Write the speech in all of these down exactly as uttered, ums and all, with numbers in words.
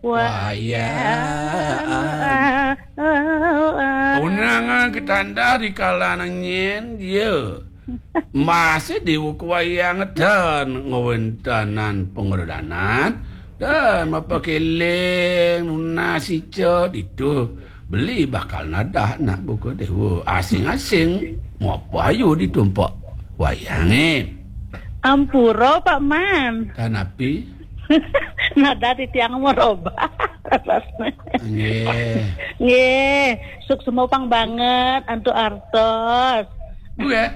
Wayang. Unang ketanda di kalangan nyen, ya. Masih di wuku wayang dan ngawentanan pengordanan dan mapakeling nunas ica ditu beli bakal nadah nak buka dewa asing-asing. Mau apa ayu ditu, Mpok? Wayange. Ampura, Pak Man. Kanapi? Nadah titiang merubah rasane. Nggih. Nggih, suksma pang banget antuk artos. Nggih.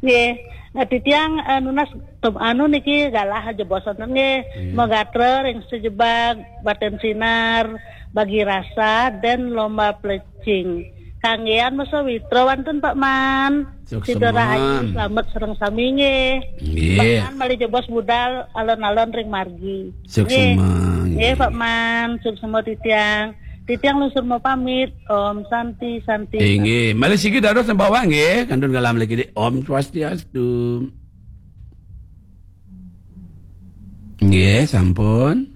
Nggih. Nah, titiang, eh, nunas tem-, anu niki galah aja bosen nggih. Iya. Megatra ring sejebag baten sinar bagi rasa dan lomba plecing. Kanggean masa witra wantun Pak Man. Suksma. Sida rahayu, slamet sareng sami nggih. Nggih. Pak Man malih jebos budal alon-alon ring margi. Suksma, nggih. Nggih, Pak Man, suksma titiang. Titiang lungsur mau pamit. Om Santi, Santi. Inggih, malih siki dados sembawang nggih, kantun kalam lagi di Om Swastiastu. Nggih, sampun.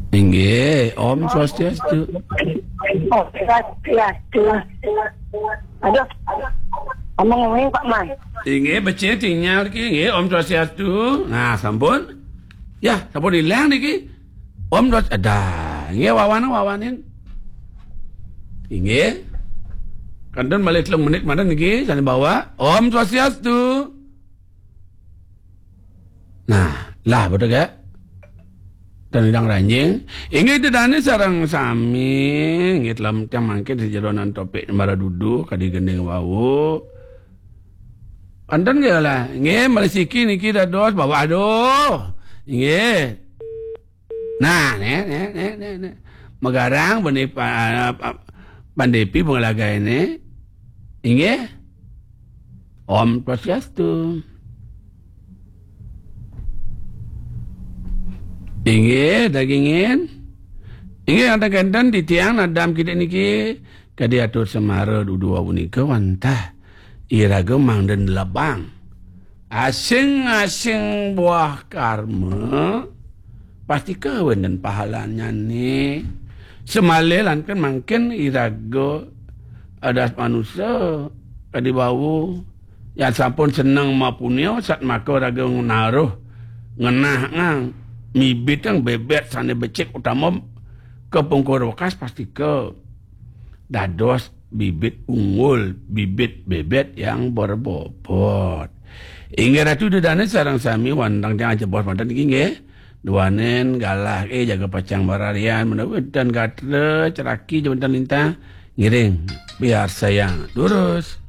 Inggih, Om Swastiastu. Oh, Swastiastu. Aduh, ngomong-ngomong Pak Man. Inggih, becik sinyal iki nggih, Om Swastiastu. Nah, sampun. Ya, sampun ilang niki. Om Swastiastu. Ada. Nggih, wawanin, wawanin. Inggih. Kantun malih telung menit mawon niki, sane bawa. Om Swastiastu. Nah, lah betul gak? Dan idang ranjing. Inggih dedane sareng sami, inggih telam tiang mangkin sejeronan topik mara dudu kadi gending wau. Kantun nggih lah. Nggih, malih siki niki dados bawa aduh. Inggih. Nah, ne, ne, ne, ne, ne. Megarang bani pa-, pa-, pandepi pengelagaene. Inggih. Om Swastiastu. Inggih, dagingin. Inggih, kenten-kenten titiang nadam kidik niki kadi atur semara dudu wau nika wantah iraga mangda nelebang. Asing-asing buah karma, pastika wenten pahalanyane. Semale lan kan mangkin iraga adas manusa kadi wau. Yan sampun seneng mapunia, sat maka raga naruh ngenah ngang mibit kang bebet sane becik utama kepungkur wekas pastika dados bibit unggul, bibit bebet yang berbobot. Inggih Ratu Dedane sareng sami wantang tiang ajebos manten iki nggih. Duanen galah eh jaga pacang bararian menawi dan gatra ceraki jawatan lintang ngiring biar sayang lurus.